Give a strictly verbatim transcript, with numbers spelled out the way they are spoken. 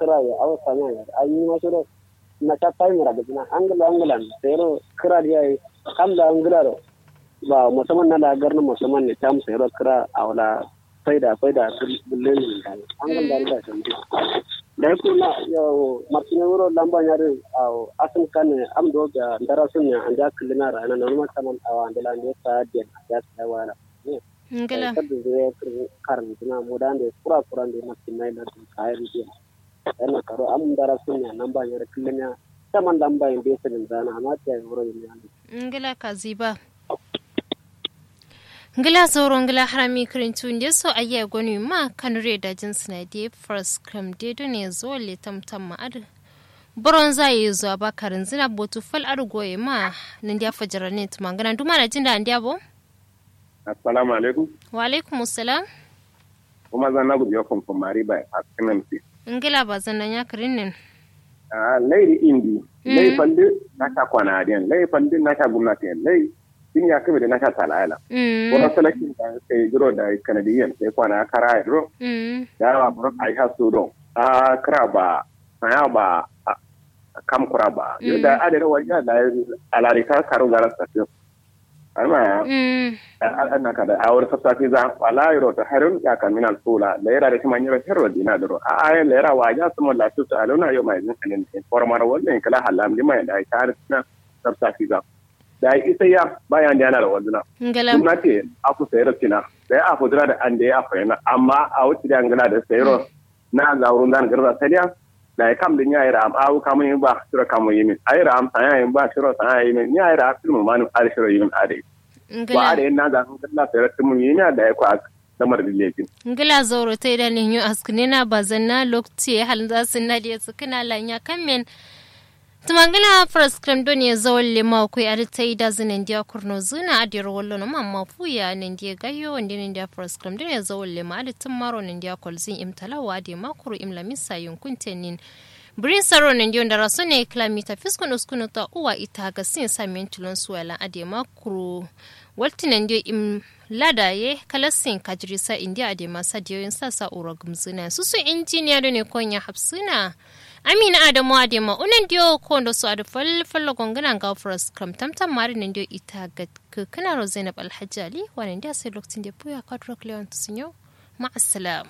kǝra ye awo samiya ye ayi ma shiro. Na sha fayi mura gǝjǝna angǝla angǝlan sayiro kǝra diya ye. Kam la angǝla ro ba musamman na la garnǝ musamman ne tam sayiro kǝra awo la faida faida gullen ne. Angǝl da da sandi. Dai kuna yo martine wuro lamba nyari awo asǝm kan ne am do ga ndara sun ne anja kǝllina ra na nonuma taman awo andala ne sa diyan anja sa wala. Ngla. Kaddu zai karin zina mu da ne kura kura ne martine na dun kayan diyan. Yana karo am ndara sun ne lamba nyari kǝllina taman lamba yin bai sinin zana amma ta yi wuro yin yana. Ngla kaziba. Ngla zauro ngla harami kǝrintu nde so ayya gonu ma kanure da jin sina de first cram de do ne zo le tam tam ma adu. Boronza ye zo aba karin zina botu fal adu goye ma. Nan dia fajara ne tuma ngana duma na jinda andia bo. Assalamu alaikum. Wa alaikum assalam. Kuma zanna gudu yo kumkum mari bai a kinan fi. Ngla ba zanna nya kǝrin nin. Ah, lai ri indi. Lai falli na sha kwana adiyan lai falli na sha gumnati yan lai. Din ya kebe da na sha talayala. Wani salakin da sai duro da kanadiyan sai kwana kara ya duro. Da yawa buro a yi hasu don a kira ba saya ba kam kura ba yau da adada wajen da alarika karu gara safiyo. Amma ya ana kada a wani sassafi za wala yaro ta harin ya kamina alfula da yara da kuma yaro herro dina duro a ayan da yara wajen su mun lasu su aluna yau mai zin kanin formar wannan kala halam lima da ya kare suna sassafi za. Da ya isa ya bayan da yana da wazuna. Ngala. Kuma ce aku sayar tina da ya aku zira da an da ya aku yana amma a wuce da ngala da sayar na zaurun zan garza sadiya. Da ya kam da ya yi ra'am awu kamun yi ba shiro kamun yi min ayi ra'am sanya yi ba shiro sanya yi min ya yi ra'am filmu manu al shiro yi min ade. Wa ade na zan garza sayar filmu yi na da ya kwa lamar da lekin. Ngila zauro ta idan yin yu askune na bazan na lokti ya halin za su na da ya tsukuna lanya kan men. Tumangila first cram don ya zawon lema akwai adi ta ida zu nandiya kurno zuna adiyar wallo na mamma fuya nandiya gayo wanda nandiya first cram don ya zawon lema adi tun maro nandiya kwalzin im talawa adi makuru im lamisa yunkun tenin. Birin saro nandiya wanda raso ne kilomita fiskun uskunu ta uwa ita ga sin samiyan tilon suwa lan adi makuru. Walti nandiya im lada ye kalassin kajirisa indiya adema sadiyoyin sasa uro gumzina susu injiniya done konya hapsina. Amina adamu adema unan diyo kondo su adu fal fal gongina nga furas kam tamtam mari nandiyo ita ga kukuna ro zainab alhaji ali wanan diya sai lokacin da buya kadro klewan tusunyo. Ma'assalam.